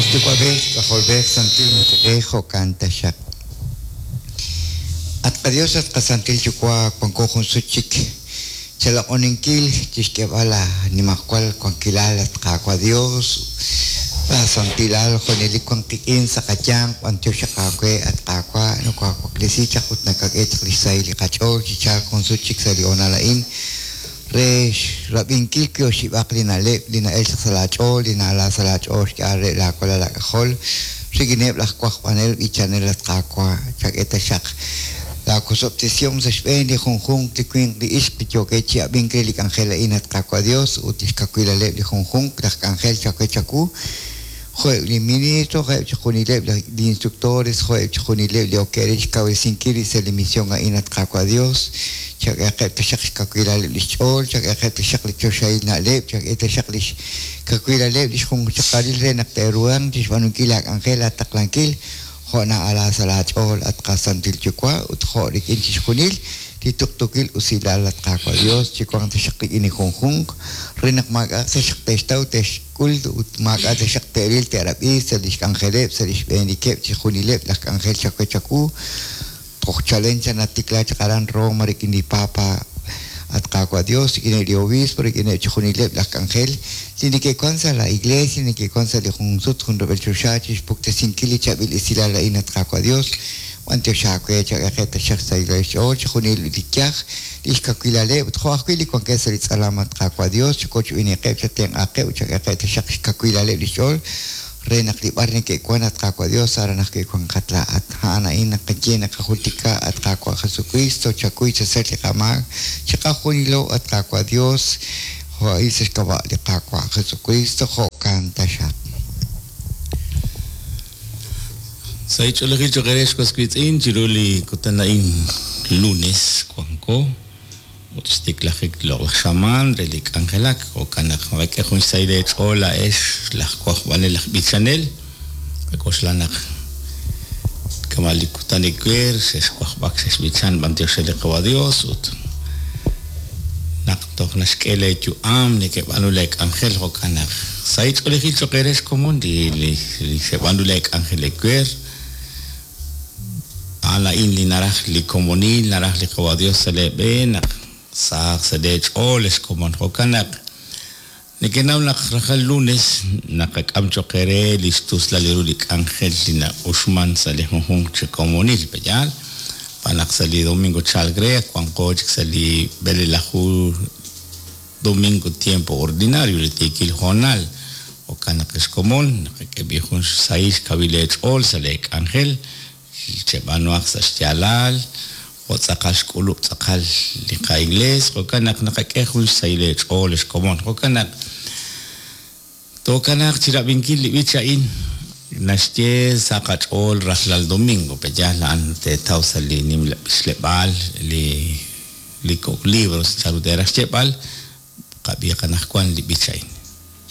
Yuwa'b'ej, K'ajolb'ej, Santil Musiq'ej, jo'kan taxaq. At qaDios, at qaSantil Yuwa', wanko jun sut chik chaloq'oninkil chixk'eeb'al laa nimajwal wankilal, at Qaawa' Dios, laa santilal junelik wan qik'in sa' qayanq. B'antiox aawe, at Qaawa', nokoawaklesi chaq ut nakak'e chaq lix sahil li qach'ool chi chalk jun sut chik sa' li hoonal a'in re xrab'inkil wi oxib'aq li na'leb' li na'el chaq sa' laach'ool, li na'ala sa' laach'ool xk'eeb'al re laa walal aak'ajol rik'ineb' laj wajb'anel b'ichanel. At Qaawa', chak'e taxaq laa wosob'tesihom sa' xb'een li junjunq li winq li ixq li yookeb' chi ab'ink re li k'anjel a'in, at Qaawa' Dios, ut lix kawilaleb' li junjunq laj k'anjel chawe chawu, jo'eb' li ministro, jo'eb' chixjunileb' li instructores, jo'eb' chixjunileb' li okeb' re xkawresinkil rib' sa' li misión a'in. At Qaawa' Dios, chak'ehaqeb' taxaq xkawilaleb' lix ch'ool, chak'ehaqeb' taxaq li choxahil na'leb', chak'e taxaq lix kawilaleb' lix junxaqalil re naq te'ruhanq chixb'aanunkil laak'anjel laataqlankil jo' na'ala sa' laach'ool, at qaSantil Yuwa', ut jo' rik'in chixjunil li tuqtuukil usilal. At Qaawa' Dios, chiwanq taxaq rik'in li junjunq re naq maak'a'aq taxaq te'xtaw te'xk'ul ut maak'a' taxaq te'ril te'rab'i sa' lix k'anjeleb', sa' lix b'eenikeb' chixjunileb' laj k'anjel chawe chawu toj chalen chaq natikla chaq aran Roma rik'in li Papa, at Qaawa' Dios, rik'ineb' li obispo, rik'ineb' chixjunileb' laj k'anjel li neke'wan sa' la iglesia, neke'wan sa' li jun sut jun rub'el choxa chixpuktesinkil li chaab'il esilal a'in. At Qaawa' Dios, b'antiox aawe, chak'ehaqeb' taxaq xsahil xch'ool chixjunil li yaj, lix kawilaleb', ut jo' ajwi' li wankeb' sa' li tz'alam. At Qaawa' Dios, chakochb'eeniqeb', chatenq'aqeb' ut chak'ehaqeb' taxaq xkawilaleb' lix ch'ool re naq li b'ar neke'wan, at Qaawa' Dios, aran ajwi' wanqat laa'at. A'an a'in naqaye naqajultika, at Qaawa' Jesucristo, chakuy chasach li qamaak chiqajunilo, at Qaawa' Dios, jo' a'in sa' xk'ab'a' li Qaawa' Jesucristo, jo'kan taxaq. Sa' ch'oolejil cho'q eere was wiitz'in chiru li kutan a'in lunes wanko ut xtiklajik loq'laj xamaan re li k'anjelak. Jo'kan naq naqak'e jun xsahil eech'ool laa'ex laj wajb'anel laj b'ichanel. Qak'oxla naq kama' li kutan ewer xexwajb'ak xexb'ichan b'antiox re li Qawa' Dios ut naq toj naxk'e leeyu'am nekeb'aanu leek'anjel. Jo'kan naq sahil ch'oolejil cho'q eere xkomon li xeb'aanu leek'anjel ewer. A'an a'in li naraj li komonil, naraj li Qawa' Dios sa' leeb'een naq sahaq sa' leech'ool ex komon. Jo'kan naq nekenaw naq rajlal lunes naqak'am cho'q eere li xtuslal ru li k'anjel li na'uxman sa' li junjunq chi komonil, pe'yaal? Xb'aan naq sa' li domingo chalk re wanqo chik sa' li b'elelaju domingo tiempo ordinario, li tiikil hoonal. Jo'kan naq ex komon naqak'e b'i jun xsahil xkawil eech'ool sa' leek'anjel, cheb'aanuhaq sa' xyaalal jo' tz'aqal xk'ulub' tz'aqal li qa-iglees. Jo'kan naq naqak'e jun xsahil eech'ool ex komon. Jo'kan naq tookanaaq chirab'inkil li b'ich a'in naxye sa' qach'ool rajlal domingo, pe'yaal? A'an teetaw sa' li nimla b'ichleb'aal, li kok' libros chanru teeraj xyeeb'al. Qab'iiq anaqwan li b'ich a'in.